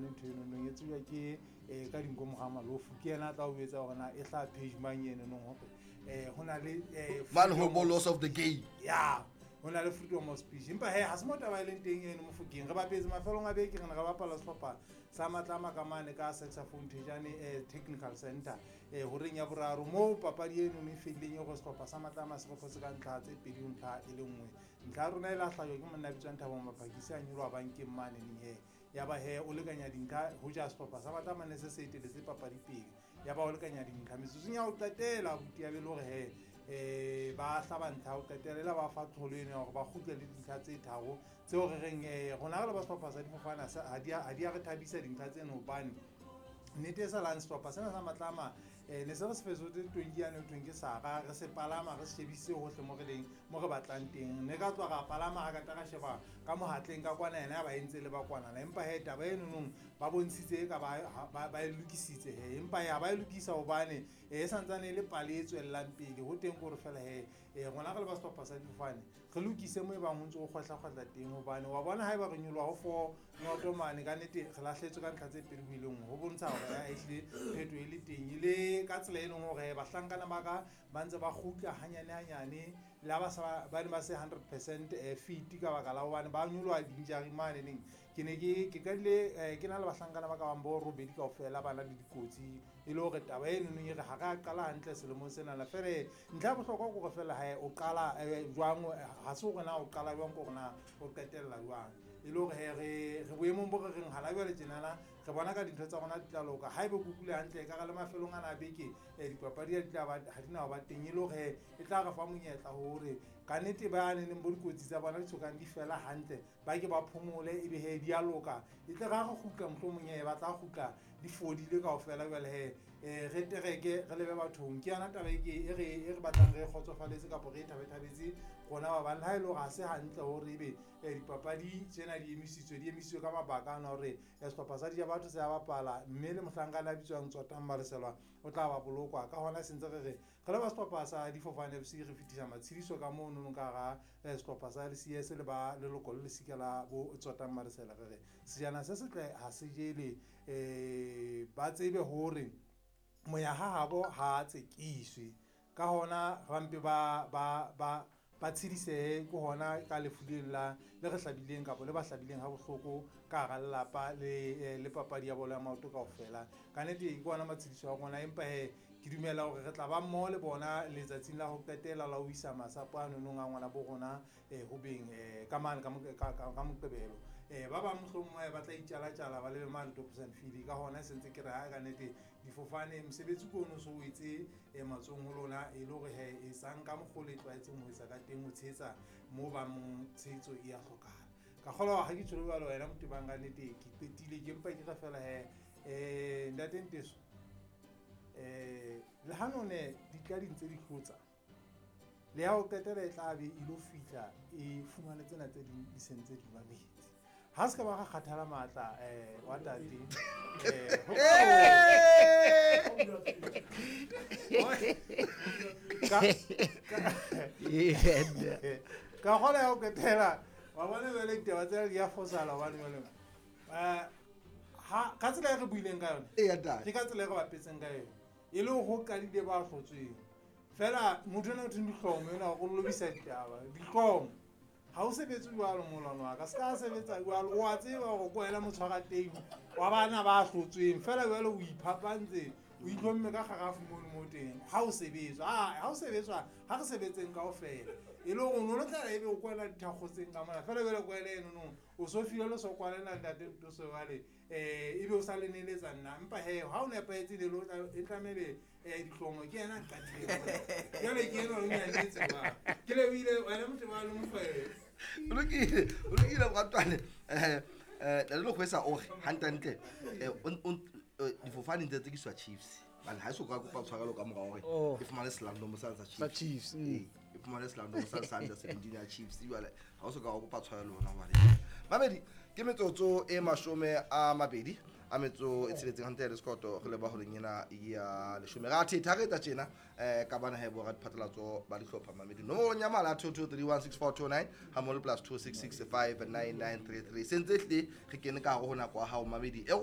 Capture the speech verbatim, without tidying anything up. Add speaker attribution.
Speaker 1: yone ntho eno nong e tsejwa ke um ka dinko moga malofu ke yena a tla o etsa gore na e hlaha page mang eno nong gore um go na le eh,
Speaker 2: mane ho
Speaker 1: freedom
Speaker 2: bo
Speaker 1: of-
Speaker 2: loss of the game
Speaker 1: ya ho na le freedom of speech empa he ha se mo taba e leng teng eno mofokeng re bapetse mafelong a beke re ne re bapala sehlopha sa matlama ka mane ka saxophone thejane um technical center um horeng ya boraro moo papadi eno e fedileng e gore sehlopha sa matlama se kgotlhotse ka ntlha tse pedi ho ntlha e le nngwe ntlha ya rona e la hlajwa ke monna a bitswang Thabong Maphakisi a nyoloha bankeng mane neng he ya ba he o lekanya dintlha ho ja sehlopha sa matlama ne se se eteletse papadi pele ya ba o lekanya dintlha metsotsong ya ho qetela abuti ya be le hore he um ba hlaba ntlha ho qetela e la ba fa tlholo eno ya hore ba kgutle le dintlha tse tharo tseo re reng um rona re le ba sehlopha sa difofane ha se- ha di a ha di a re thabisa dintlha tseno hobane nnete e salang sehlopha sena sa matlama um ne se re se fetotse tonki yane ho thweng ke sara re se palama re se shebisitse hohle mo re leng mo re batlang teng ne ka tloha ra palama ra kata ra sheba ka mohatleng ka kwana yena ya ba entse le ba kwanana empa he taba enonong ba bontshitse e ka ba ha- ba ba e lokisitse he empa he ha ba e lokisa hobane eh, e santsane e le pale e tswellang pele ho teng kore fela he um rona re le ba sehlopha sa difofane re lokise mo e bang ho ntse ho kgwehla-kgwehla teng hobane wa bona ha eba re nyoloha ho four noto mane ka nnete re lahletswe ka ntlha tse pedi ho ile nngwe ho bontsha hore ya ehlile phetho e le teng e le ka tsela e leng hore bahlankana ba ka ba ntse ba kgutla hanyane hanyane le ha ba sa ba ne ba se hundred percent fit ka baka la hobane ba nyoloha di-injury mane neng ke ne ke ke qadile eh, ke na le bahlankana ba ka bang bo robedi kaofela ba na le dikotsi e le hore taba eno nong e re ha re a qala hantle selemong senana fele ntlha ya bohlokwa ke hore fela hae o qala eh, jwang ha se hore na o qala jwang ke hore na o qetella jwang e le hore he re re boemong bo re reng hana jwale tjenana re bona ka dintho tsa rona di tla loka ha ebe kukule hantle ka re le mafelong ana a beke um dipapadi ha di tla ba ha di na ho ba teng e le hore he e tla re fa monyetla hore ka nnete ba neneng bo dikotsi tsa bona di sokang di fela hantle ba ke ba phomole ebe he di a loka e tle ra re kgutla mohlomong he ba tla kgutla di fodile kaofela jwale he um re tereke re lebe bathong ke yona taba e ke e re e re batlang re kgotsofaletse kapa re e thabethabetse rona ba bang le ha e le hore ha se hantle hore ebe um dipapadi tsena di emisitswe di emisitswe ka mabaka ana hore eh, sehlopha sa Dijabatho se a bapala mme le mohlankana a bitswang Tsotang Maleselwa o tla ba bolokwa ka hona se ntse re re re le ba sehlopha sa Difofane F C re fetisa matshediso ka mono ka hara eh, sehlopha sa L C S le ba leloko le lesika la bo Tsotang Malesela re re sejana se setle ha se jele um ba tsebe hore moya ha habo ha tsekiswe ka hona ba mpe ba ba ba ba tshedisehe ke hona ka lefu leno la le re hlabileng kapa le ba hlabileng ha bohloko ka hara lelapa le eh, le papadi ya bolo ya maoto kaofela ka nnete ke ona matshediso a rona empa he ke dumela hore re tla ba mmoho le bona letsatsing la ho qetela la ho isa masapo a nonong a ngwana bo rona um ho beng um ka mane ka Mo- ka- ka- ka Moqebelo um ba bang mohlomong ba tla itjala-tjala ba lebe mane Dobsonville ka hona se ntse ke re ha ka nnete difofane mosebetsi ke ono so o etse um matsohong ho lona e le hore he etsang ka mokgwa o le tlwaetseng ho etsa ka teng ho tshehetsa moo ba mong tshehetso e ya hlokahala ka kgolwa ha ke tjho jwalo wena motho bang ka nnete ke qetile ke mpa ke re fela he um ntate Nteso um le ha none di tla di ntse di hlotsa le ya ho qetela e tla be e lo fihla e fumane tsena tse ding di sentse di mametse ha se ka ba ga kgathala matla um wa tate um ka kgona ya ho qetela wa bona jwale ditaba tsena di a fosala hobane jwale um ha ka tsela e re buileng ka yona
Speaker 2: Eya, ntate.
Speaker 1: ke ka tsela e re bapetseng ka yona e le ho qadile ba hlotsweng fela motho ena o thweng dihlomo ena o lobisa ditaba dihlomo ha o sebetse jwalo molwana wa ka se ka sebetsa jwalo o a tseba hore ke wena motshwara teng wa bana ba hlotsweng fela jwale o iphapantse o itlhomme ka kgarafu mono mo teng ha o sebetswa ha o sebetswa ha re sebetseng kaofela e le hore o no lo tla ebe o kwela dithakgotseng ka mona fela jwale kwele eno no o so file le so kwalena ntate Ntoso jwale um ebe o sa le neletsa nna empa he ha o nepahetse le lo e tlamebe um dihlomo ke yena nqatileng jwale ke ena o nyanyetse jwale ke lebohile wena motho ba le mokgwele
Speaker 2: O lokile o lokile moratuwane um um le kgwesa ore hantlentle um difofane ntse tsekiswa Chiefs bane ha e so ka kopa tshwarelo ka mora hore
Speaker 3: Oh.
Speaker 2: e fumane selandomo sane sa
Speaker 3: Sa
Speaker 2: Chiefs
Speaker 3: Chiefs, mm.
Speaker 2: Ee, e fumane selandomo sane sa under seventeen ya Chiefs jwale ha o so ka wa kopa tshwarelo hona jwale mamedi ke metsotso e mashome a mabedi a metso e tsheletseng hantle le sekoto re leba holeng ena ya leshome ra thetha re etsa tjena um ka bana he bo radiphatlalatso ba dihlopha mamedi nomorong ya mala two two three one six four two nine ha mmoho le plus two six six five nine nine three three se ntse hlile re kene ka hare ho nako ya hao mamedi e